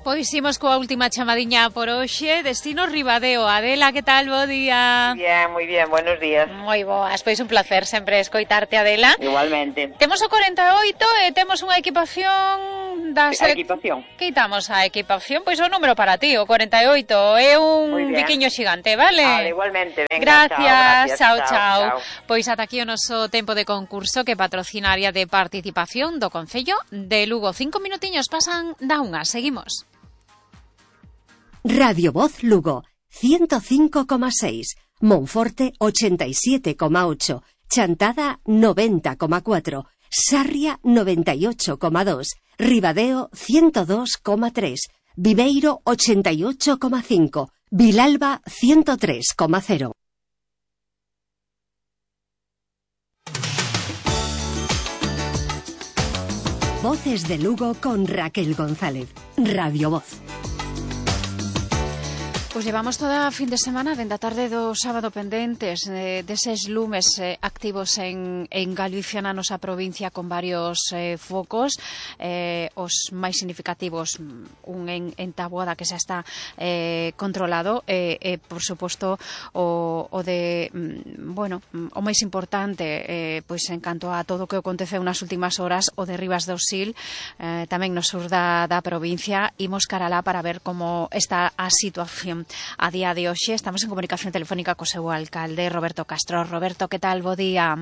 Pois imos coa última chamadiña por hoxe, destino Ribadeo. Adela, que tal? Bo día. Muy bien, buenos días. Moi boas, pois un placer sempre escoitarte, Adela. Igualmente. Temos o 48 e temos unha equipación da A equipación. Quitamos a equipación, pois o número para ti, o 48. É un biquiño xigante, vale? Vale, igualmente. Venga, gracias, chao. Pois ata aquí o noso tempo de concurso que patrocina a área de participación do Concello de Lugo. 5 minutiños pasan da unha, seguimos. Radio Voz Lugo, 105,6, Monforte 87,8, Chantada 90,4, Sarria 98,2, Ribadeo 102,3, Viveiro 88,5, Vilalba 103,0. Voces de Lugo con Raquel González, Radio Voz. Pois levamos toda a fin de semana, dende a tarde do sábado pendentes deses lumes activos en Galicia, na nosa provincia, con varios focos, os máis significativos, un en Taboada que xa está controlado, por suposto o de, o máis importante, pois en canto a todo o que aconteceu nas últimas horas, o de Rivas do Sil, tamén no sur da provincia. Imos cara lá para ver como está a situación a día de hoxe. Estamos en comunicación telefónica co seu alcalde, Roberto Castro. Roberto, que tal? Bo día.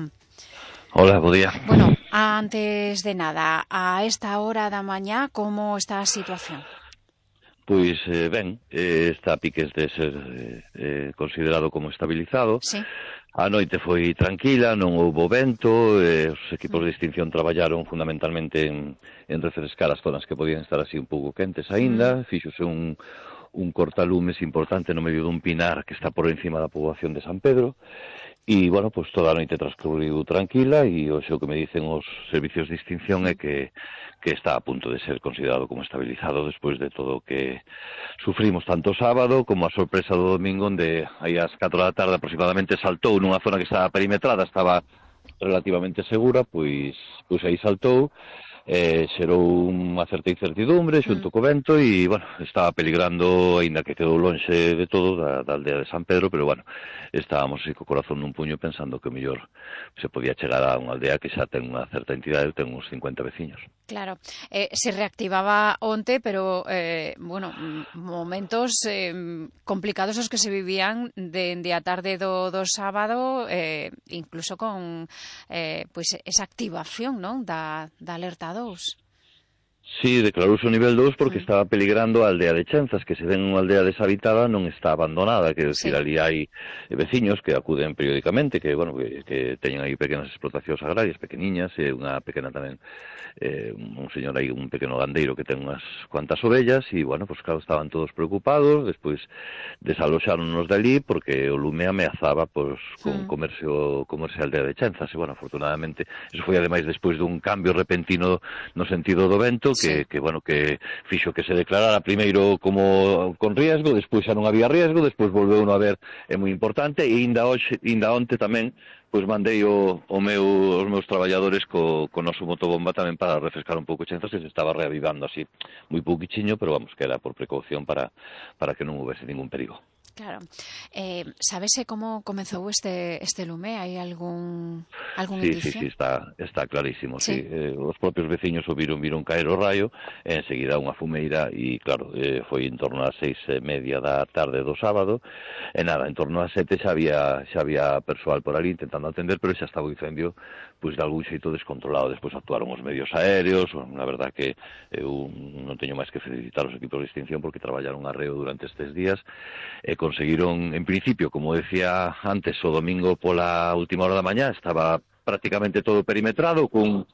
Hola, bo día. Bueno, antes de nada, a esta hora da mañá, como está a situación? Pois ben, está a piques de ser considerado como estabilizado. Sí. A noite foi tranquila, non houbo vento, os equipos de extinción traballaron fundamentalmente en refrescar as zonas que podían estar así un pouco quentes aínda. Fíxose un cortalumes importante no medio dun pinar que está por encima da poboación de San Pedro. E, bueno, pues toda a noite transcorriu tranquila e hoxe o que me dicen os servicios de extinción é que está a punto de ser considerado como estabilizado despois de todo o que sufrimos tanto o sábado como a sorpresa do domingo, onde aí ás 4 da tarde aproximadamente saltou nunha zona que estaba perimetrada, estaba relativamente segura, pois aí saltou, xerou unha certa incertidumbre xunto co vento e, bueno, estaba peligrando, aínda que quedou lonxe de todo da aldea de San Pedro, pero, bueno, estábamos así co corazón nun puño pensando que o mellor se podía chegar a unha aldea que xa ten unha certa entidade, ten uns 50 veciños. Claro, se reactivaba onte, pero, momentos complicados os que se vivían dende a tarde do sábado, incluso con esa activación, non, da alerta 2. Sí, declarouse o nivel 2 porque estaba peligrando a aldea de Chenzas, que se ven unha aldea deshabitada non está abandonada, que decir, ali hai veciños que acuden periódicamente, que, bueno, que teñen aí pequenas explotacións agrarias, pequeniñas, e unha pequena tamén, un señor aí, un pequeno gandeiro que ten unhas cuantas ovellas, e, bueno, pues claro, estaban todos preocupados, despois desaloxáronnos dali porque o lume ameazaba, pues, con comerse a aldea de Chenzas, e, bueno, afortunadamente, eso foi ademais despois dun cambio repentino no sentido do vento, que fixo que se declarara primeiro como con riesgo, despois xa non había riesgo, despois volveu non haber, é moi importante, e inda onte tamén, pois mandei os meus traballadores co noso motobomba tamén para refrescar un pouco Chenzas, que se estaba reavivando así, moi pouquichiño, pero vamos, que era por precaución para que non houvese ningún perigo. Claro. Sabese como comezou este lume? Hai algún indicio? Sí, está clarísimo. Sí. Os propios veciños o viron caer o raio, enseguida unha fumeira, e claro, foi en torno ás 6:30 da tarde do sábado, e nada, en torno ás 7 xa había persoal por ali intentando atender, pero xa estaba o incendio pois de algún xeito descontrolado. Despois actuaron os medios aéreos, a verdad que eu non teño máis que felicitar os equipos de extinción porque traballaron arreo durante estes días e conseguiron, en principio, como decía antes, o domingo pola última hora da mañá estaba prácticamente todo perimetrado, cun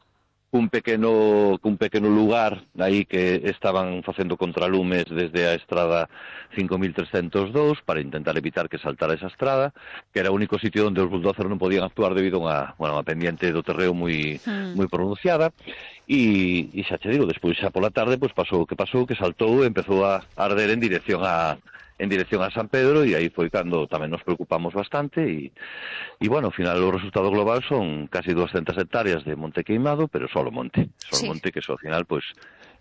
pequeno lugar aí que estaban facendo contralumes desde a estrada 5302 para intentar evitar que saltara esa estrada, que era o único sitio onde os bulldozer non podían actuar debido a unha pendiente do terreo moi pronunciada. E xa che digo, despois xa pola tarde pasou o que pasou, que saltou e empezou a arder en dirección a San Pedro, e aí foi cando tamén nos preocupamos bastante e bueno, ao final o resultado global son casi 200 hectáreas de monte queimado, pero solo monte, que ao final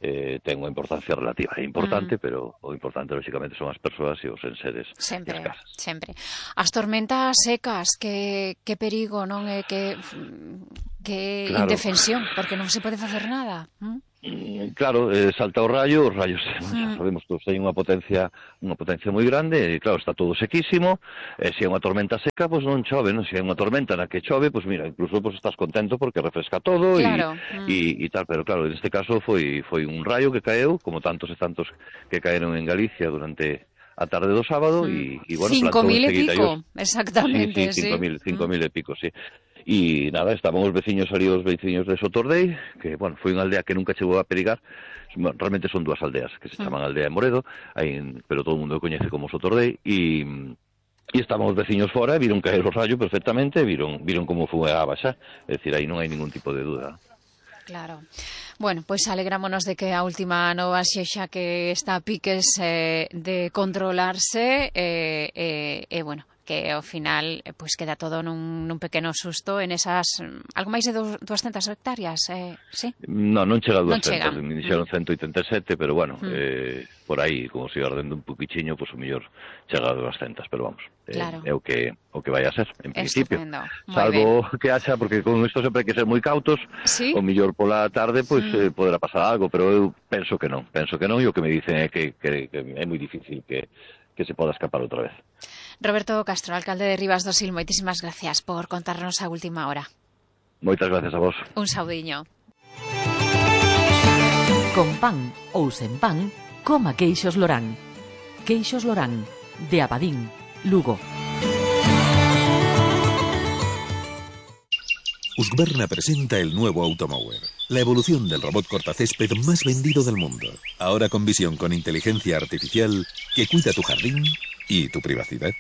ten unha importancia relativa. É importante, pero o importante, lógicamente, son as persoas e os enseres sempre, das casas. Sempre. As tormentas secas, que perigo, non é que claro. Indefensión, porque non se pode facer nada. Claro, salta o rayo, os rayos, xa sabemos todos, hai unha potencia moi grande, e claro, está todo sequísimo, se é unha tormenta seca, pois non chove, non? Se é unha tormenta na que chove, pois mira, incluso pois estás contento porque refresca todo, claro. e tal, pero claro, en este caso foi un rayo que caeu, como tantos e tantos que caeron en Galicia durante a tarde do sábado, e bueno, 5.000 e pico, exactamente, sí. 5.000 e pico, sí. E nada, estaban os veciños ali, os veciños de Sotordei, que, bueno, foi unha aldea que nunca chegou a perigar. Bueno, realmente son dúas aldeas, que se chaman Aldea e Moredo, pero todo o mundo o coñece como Sotordei, e estaban os veciños fora, e viron caer o rayo perfectamente, viron como foi a baixar, é dicir, aí non hai ningún tipo de duda. Claro. Bueno, pois alegrámonos de que a última nova sexa que está a piques de controlarse, bueno, que ao final pois queda todo nun pequeno susto en esas algo máis de 200 hectáreas, sí? Non chega a 200, me dixeron 187, pero bueno, por aí, como se iba ardendo un poquichiño, pois o mellor chega a 200, pero vamos, claro. É o que vai a ser, en principio. Salvo que haxa, porque con isto sempre hai que ser moi cautos, ¿sí? O mellor pola tarde, pois poderá pasar algo, pero eu penso que non, e o que me dicen é que é moi difícil que se poda escapar outra vez. Roberto Castro, alcalde de Rivas do Sil, moitísimas gracias por contarnos a última hora. Moitas gracias a vos. Un saudiño. Con pan ou sen pan, coma queixos Lorán. Queixos Lorán, de Abadín, Lugo. Husqvarna presenta el nuevo Automower, la evolución del robot cortacésped más vendido del mundo. Ahora con visión con inteligencia artificial que cuida tu jardín y tu privacidad.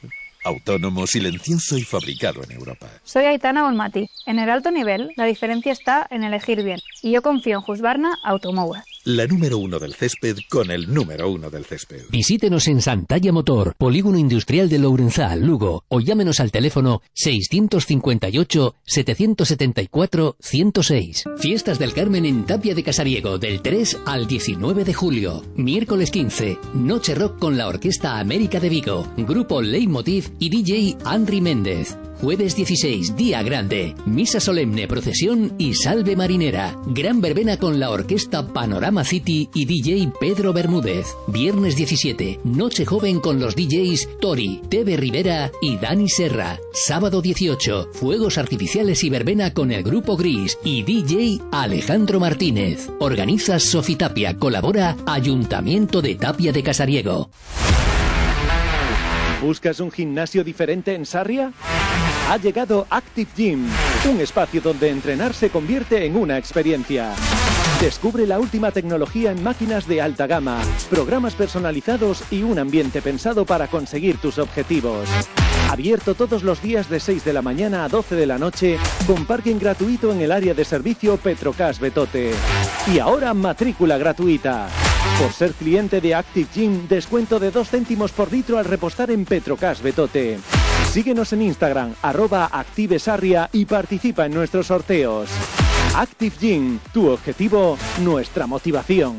Autónomo, silencioso y fabricado en Europa. Soy Aitana Olmati. En el alto nivel, la diferencia está en elegir bien. Y yo confío en Husqvarna Automower. La número 1 del césped con el número 1 del césped. Visítenos en Santalla Motor, Polígono Industrial de Lourenzá, Lugo, o llámenos al teléfono 658-774-106. Fiestas del Carmen en Tapia de Casariego, del 3 al 19 de julio. Miércoles 15, Noche Rock con la Orquesta América de Vigo, Grupo Leitmotiv y DJ Andri Méndez. Jueves 16, Día Grande, Misa Solemne, Procesión y Salve Marinera. Gran verbena con la Orquesta Panorama City y DJ Pedro Bermúdez. Viernes 17, Noche Joven con los DJs Tori, Tebe Rivera y Dani Serra. Sábado 18, Fuegos Artificiales y verbena con el Grupo Gris y DJ Alejandro Martínez. Organiza Sofitapia, colabora Ayuntamiento de Tapia de Casariego. ¿Buscas un gimnasio diferente en Sarria? Ha llegado Active Gym, un espacio donde entrenar se convierte en una experiencia. Descubre la última tecnología en máquinas de alta gama, programas personalizados y un ambiente pensado para conseguir tus objetivos. Abierto todos los días de 6 de la mañana a 12 de la noche, con parking gratuito en el área de servicio Petrocas Betote. Y ahora matrícula gratuita. Por ser cliente de Active Gym, descuento de 2 céntimos por litro al repostar en Petrocas Betote. Síguenos en Instagram, @ActiveSarria, y participa en nuestros sorteos. Active Gym, tu objetivo, nuestra motivación.